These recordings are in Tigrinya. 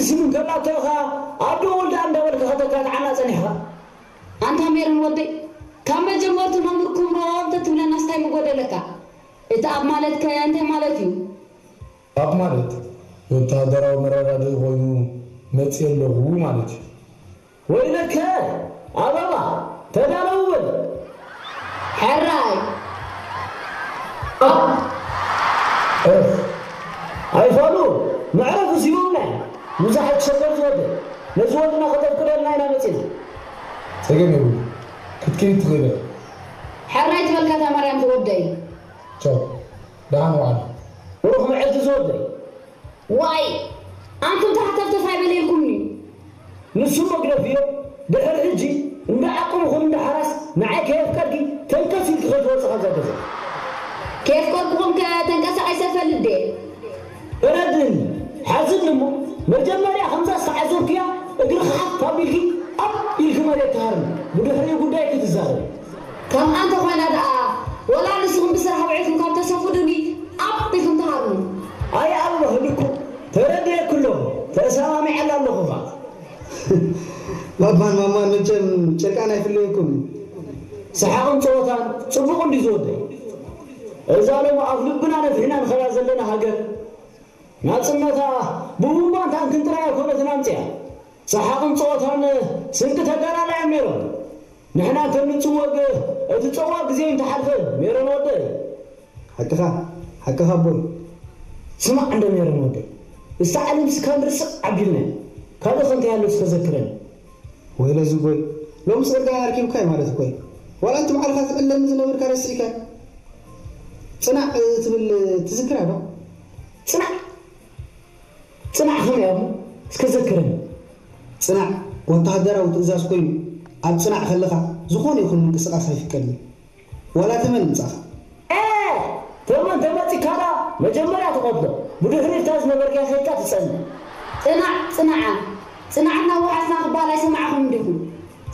ስም እንከላቶ ኢኻ ኣዶ ወልዳ እንዳበልካ ከተካትዓና ጸኒሕኻ። ኣንታ ሜሮን ወደይ፣ ካብ መጀመርቱ መምህር ክብሮም ተትብለናስ እንታይ ምጎደለካ? እቲ ኣብ ማለት ከ እንታይ ማለት እዩ? ኣብ ማለት ወተሃደራዊ መረዳድኢ ኮይኑ መጽየ ኣለኹ ማለት እዩ። ወይለከ ኣበባ፣ ተዳለው በል። ሕራይ። እፍ፣ ኣይፋሉ፣ መዕረፊ ሲቦምና እዮም። ብዙሓት ሸገር ዝወደ፣ ነዚ ወድና ከተፍቅደልና ኢና መጺና። ጸገም የብሉ፣ ክትከይድ ትኽእል እያ። ሕራይ ትበልካ እታ ማርያም ዝወደይ። ቻው፣ ደሓን ዋዕል። ብሩኽ መዓልቲ ዝወደይ። ዋይ፣ ኣንቱም ተሓተፍተፍ ኣይበለልኩምኒ። ንሱ መግረፊዮ ድሕሪ ሕጂ እንዳ ዓቅምኹም እንዳ ሓራስ ንዓይ ከየፍቀድኪ ተንከስ ኢልኪ ከይትወጽእ ካብዛ ገዛ። ከየፍቀድኩኹም ከ ተንቀሳቒሰ ፈልጥ ድየ? እረድእኒ፣ ሓዝኒ እሞ መጀመርያ ከምዛ ዝተዓዘብክያ እግርኺ ሓፍ ኣቢልኪ ኣብ ኢልኪ መሬት ትሃርሚ፣ ብድሕሪኡ ጉዳይኪ ትዛረቢ። ከምኣ እንተኾይና ደኣ፣ ወላ ንስኹም ብስራሕ ውዒልኩም ካብ ተሰፉ ድኒ ኣብ ኢልኩም ትሃርሙ። ኣይ ኣበባ ህልኩ፣ ተረዲኤኪ ኣለኹ፣ ተሰማሚዐላ ኣለኹ ኸኣ። ባባን ማማን መቸም ጨርቃን ኣይፍለየኩም። ሰሓቕን ጸወታን ጽቡቕ እንድዩ ዝወደይ። እዛ ሎሚ ኣብ ልብና ነፊሕና ንኸዳ ዘለና ሃገር፣ ናጽነታ ብቡምባን ታንክን ጥራይ ኣይኮነትን ኣምጺኣ። ሰሓቕን ጸወታን ስንቂ ተጋዳላይ እዮም ነይሮም። ንሕና ከም ንጽወግ እቲ ጸዋግ ግዜ እንተሓልፈ ሜሮን ወደይ። ሓቅኻ፣ ሓቅኻ ኣቦይ። ስማዕ እንዶ ሜሮን ወደይ፣ እዛ ዓለምስ ካብ ንርስዕ ዓቢልና። ካልእ ከ እንታይ ኣሎ እስከ ዘክረኒ። ወይለ ዝጎይ፣ ሎምስ ጽርግያ ኣርኪብካ እዩ ማለት እኮ እዩ። ዋላ እቲ ባዕልኻ ትዕለኒ ዝነበርካ ረሲዕካ። ጽናዕ ትብል ትዝክራ ዶ? ጽናዕ? ጽናዕ ከመይ ኣቦ? እስከ ዘክረኒ። ጽናዕ ወተሃደራዊ ትእዛዝ ኮይኑ፣ ኣብ ጽናዕ ከለኻ ዝኾነ ይኹን ምንቅስቓስ ኣይፍቀድን። ዋላ ተመን ምጻኻ። ኤ! ተመን ተመጺካ ደኣ መጀመርያ ትቐትሎ፣ ብድሕሪት እታ ዝነበርካያ ከይድካ ትጸንዕ። ጽናዕ፣ ጽናዓ፣ ጽናዕና ወሓስና ክበሃል ኣይሰማዕኹምን ዲኹም?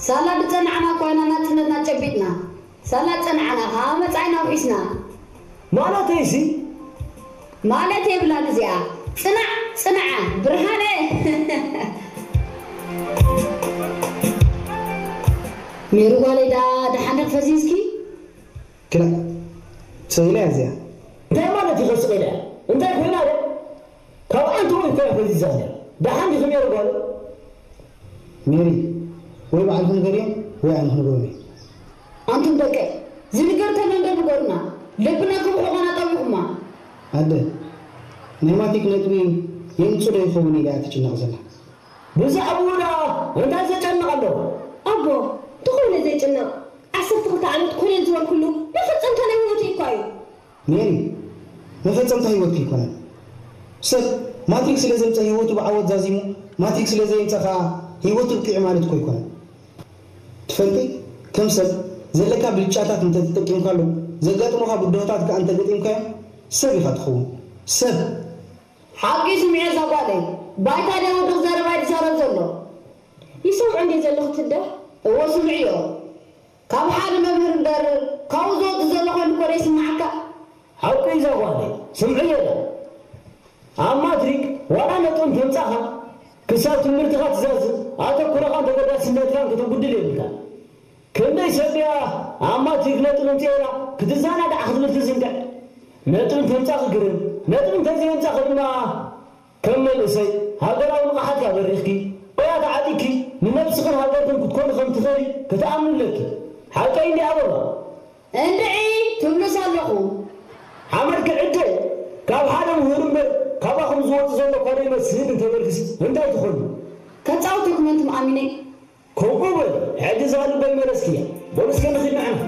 ሳላ ዝጸናዕና እኳ ኢና ናጽነትና ጨቢጥና። ሳላ ዝጸናዕና ከኣ መጻኢና ውሒስና። ማለተይሲ? ማለት የብላን እዚኣ። ጽናዕ፣ ጽናዓ፣ ብርሃነ። ሜሪ ጓለይ፣ ዳ ደሓን ዲኺ ፈዚዝኪ? ክላ፣ ሰይለ እያ እዚኣ። እንታይ ማለት እዩ ከስቕ ኢለ? እንታይ ኮይና እያ? ካብ ኣንተ ወይ እኮ እያ ፈዚዛ እያ። ደሓን ዲኺ ሜሪ ጓለይ? ሜሪ፣ ወይ ባዕልኺ ንገርዮም ወይ ኣነ ክንገሮም እየ። ኣንቱም ደቀይ፣ ዝንገር ተሎ እንዶ ንገሩና። ልብና ክብሕቑና ጠዊቑማ። ኣደ፣ ናይ ማትሪክ ነጥቢ የምጽእ ዶ ይኸውን ኢላ እያ ትጭነቕ ዘላ። ብዛዕባኡ ደኣ እንታይ ዘጨንቕ ኣለዎ? ኣቦ፣ እንተኾይነ ዘይጭነቕ፣ ዓሰርተ ክልተ ዓመት ኮለል ዝበልኩሉ መፈጸምታ ናይ ህይወተይ እኳ እዩ። ሜሪ፣ መፈጸምታ ህይወትኪ ኣይኮነን። ሰብ ማትሪክ ስለ ዘምጸ ህይወቱ ብዓወት ዛዚሙ፣ ማትሪክ ስለ ዘየምጸ ከኣ ህይወቱ ብቂዑ ማለት እኮ ኣይኮነን። ትፈልጢ፣ ከም ሰብ ዘለካ ብልጫታት እንተተጠቂምካሉ፣ ዘጋጥሙኻ ብድሆታት ከኣ እንተገጢምካዮም፣ ሰብ ኢኻ ትኸውን። ሰብ። ሓቂ ስምዒ እዛ ጓለይ። ባይታ ደይ ወዲ ክዛረብ ኣይትዛረብ ዘሎ። ይሰምዖ እንድየ ዘለኹ ትደ? እወ ስምዕዮ። ካብ ሓደ መምህር እምበር ካብኡ ዝወጽእ ዘሎ ኮይኑ እኮ ደይስምዓካ። ሓቁ እዩ እዛ ጓለይ። ስምዕዮ እዛ። ኣብ ማትሪክ ዋላ ነጥቢ እንተምጻኻ ክሳብ ትምህርትኻ ትዛዝም ኣተኩሮኻን ተገዳስነትካን ከተጉድል የብልካን። ክንደይ ሰብ ድያ ኣብ ማትሪክ ነጥቢ ኣምጺኤላ ክትዘናጋዕ ክትብል ትዝንግዕ። ነጥቢ እንተምጻኺ ግርም፣ ነጥቢ እንተዘየምጻኺ ድማ ከም መንእሰይ ሃገራዊ ንቕሓትካ በሪኽኪ፣ ሞያ ተዓጢቕኪ ንነብስኽን ሃገርክን ክትኮኒ ከም ትኽእሊ ክትኣምኒ ኣለኪ። ሓቀይ እንድየ ኣበባ? እንድዒ ትብሉስ ኣለኹ። ሓመድ ክዕደ ካብ ሓደ ምሁር እምበር ካባኹም ዝወጽእ ዘሎ እኳ ዘይመስል እንተበልክሲ እንታይ ትኾኒ? ከጻውተኩም ኣንቱም ኣሚነይ። ከምኡ በል፣ ሕጂ እዛ ልበይ መለስክያ። በሉ እስከ ንኺድ ንሕና።